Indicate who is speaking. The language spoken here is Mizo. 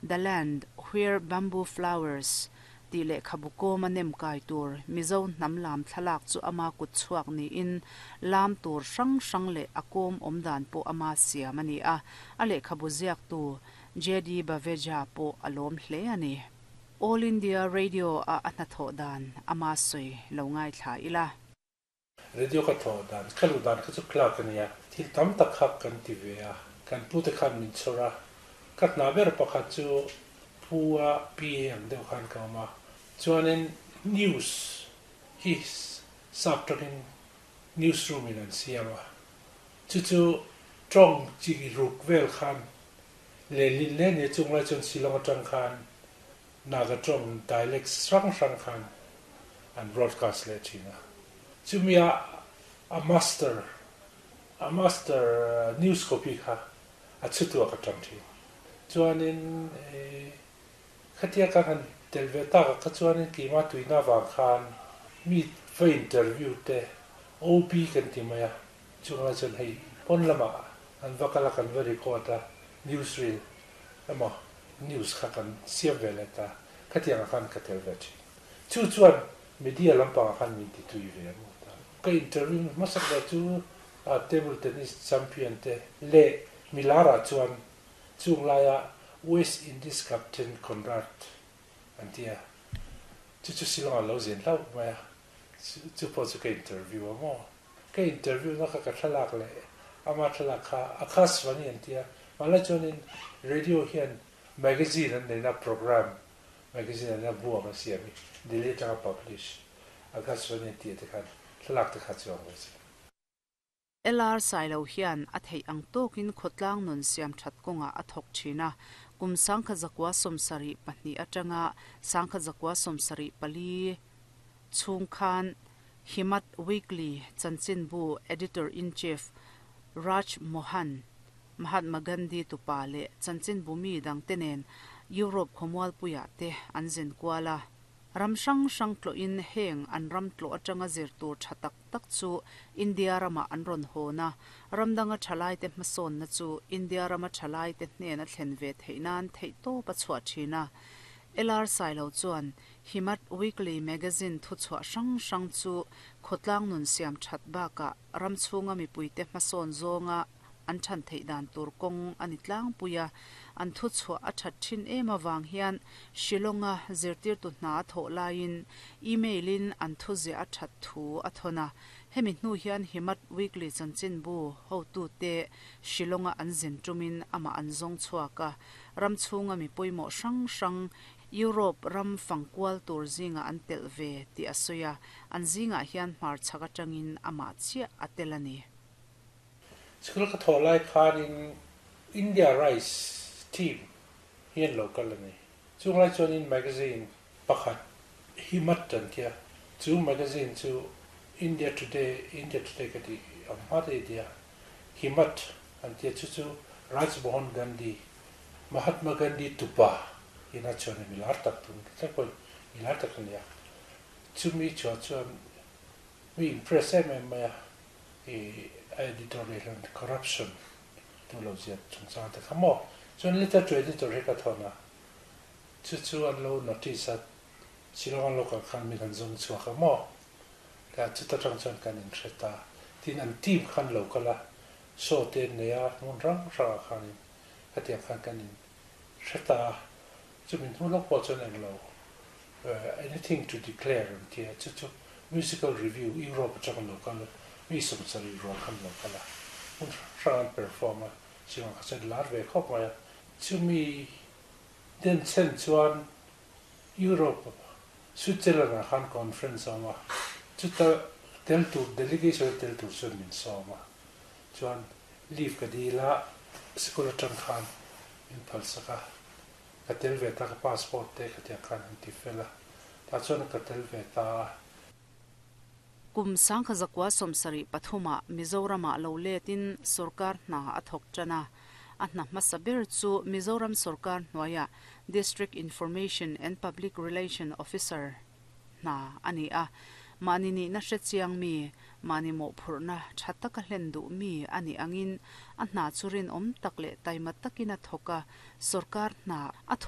Speaker 1: The Land Where Bamboo Flowers tih lehkhabu kawma nem kai tur Mizo hnam lam thlalak chu ama kut chhuak niin lam tur hrang hrang leh a kawm awm dan pawh ama siam a ni a, a lehkhabu ziaktu JD Baveja pawh a lawm hle a ni. All India Radio a a hnathawh dan ama sawi lo ngaithla ila.
Speaker 2: Radio ka thawh dan, ka luh dan kha chu clerk a nia, thil tam tak kha kan ti ve a, kan pute khan min chhawr a, ka hna ber pakhat chu pu a PA ang deuh khan ka awm a, chuanin news hi sap tawngin news room in an siam a, chu chu tawng chi ruk vel khan lehlin hle nia, chung lai chuan Shillong atang khan Naga tawng dialects hrang hrang khan an broadcast leh thin a. Chumia a master a master news copy kha a chhutuah ka tang thin. Chuanin khatia ka han tel ve tak a kha chuanin keimah tuina avang khan mi va interview te OB kan ti mai a, chunglai chuan hei pawn lamah an va kal a kan va record a news reel emaw news kha kan siam ve leh ta, khatiang ah khan ka tel ve thin. Chu chuan media lampang ah khan min ti tui ve ang ta. Ka interview hmasak ber chu table tennis champion te leh milar ah chuan chung laia West Indies captain Conrad an ti a, chu chu Shillong ah lo zin hlauh mai a, chu pawh chu ka interview a maw. Ka interview na kha ka thlalak leh ama thlalak kha Akashvani an ti a, mahla chuanin radio hian magazine an neina program magazine an neina bu ang an siam hi Delhi atanga publish Akashvani an tih te khan thlalak te kha chuang ve che.
Speaker 1: LR Sailo hian a theih ang tawkin khawtlang nun siam that kawngah a thawk thin a, kum 1972 atanga 1974 chhung khan Himat Weekly chanchinbu Editor-in-Chief Raj Mohan, Mahatma Gandhi tupa leh chanchinbu mi dangte nen Europe khawmualpuiah te an zin kual a. Ram hrang hrang tlawhin heng an ram tlawh atanga zir tur tha tak tak chu India ramah an rawn hawn a, ram danga thalaite hmasawnna chu India rama thalaite hnena thlen ve theih nan theihtawp a chhuah thin a. LR Sailo chuan Himat Weekly magazine thuchhuah hrang hrang chu khawtlang nun siam that bakah ram chhunga mipuite hmasawn zawnga an than theih dan tur kawng a ni tlangpui a, an thuchhuah a that thin em avang hian Shillong-a zirtirtu hna a thawh laiin email-in an thuziah a that thu a thawn a. Hemi hnu hian Himat Weekly chanchinbu hotute Shillong-a an zin tumin amah an zawng chhuak a, ram chhunga mi pawimawh hrang hrang Europe ram fangkual tur zingah an telh ve tih a sawi a, an zingah hian hmarchhak atangin amah chiah a tel a ni.
Speaker 2: School ka thawh lai khanin India Rice team hi an lo kal a ni. Chung lai chuanin magazine pakhat Himat an tia, chu magazine chu India Today, India Today ka tih ang hma te i tia, Himat an tia chu chu Raj Mohan Gandhi Mahatma Gandhi tupa ina chuan mi lar tak tun thleng pawhin mi lar tak a ni a, chumi chhuah chuan mi impress em em mai a, i a editor leh hian corruption tu lo ziak chungchang te kha maw, chuan letter to editor hi ka thawn a, chu chu an lo notice a, Shillong an lo kal khan min han zawng chhuak a maw, ka chuta tang chuan kan inhre ta, tin an team khan lo kal a, show te an nei a, hmun hrang hrangah khanin Hetiang khan kan in hre ta a, chumi hnu lawk pawh chuan englo anything to declare an ti a, chu chu musical review Europe atang an lo kal a, mi 70 rual khan an lo kal a, hmun hrang hrang an perform a, chungah kha chuan lar ve khawp mai a. Chumi den chen chuan Europe Switzerland ah khan conference a awm a, chuta tel tur delegation a tel tur chuan min sawm a, chuan leave ka dil a, sikul atang khan min phalsak a, ka tel ve ta, ka passport te khatiang khan an ti fel a, tah chuan ka tel ve ta a.
Speaker 1: Kum 1973 ah Mizoramah lo letin sorkar hna a thawk tan a, a hna hmasa ber chu Mizoram sorkar hnuaiah District Information and Public Relation Officer hna a ni a, mahni nihna hre chiang mi, mahni mawhphurhna tha taka hlen duh mi a nih angin a hna chu rinawm tak leh taima takin a thawk a, sorkar hna a thawh.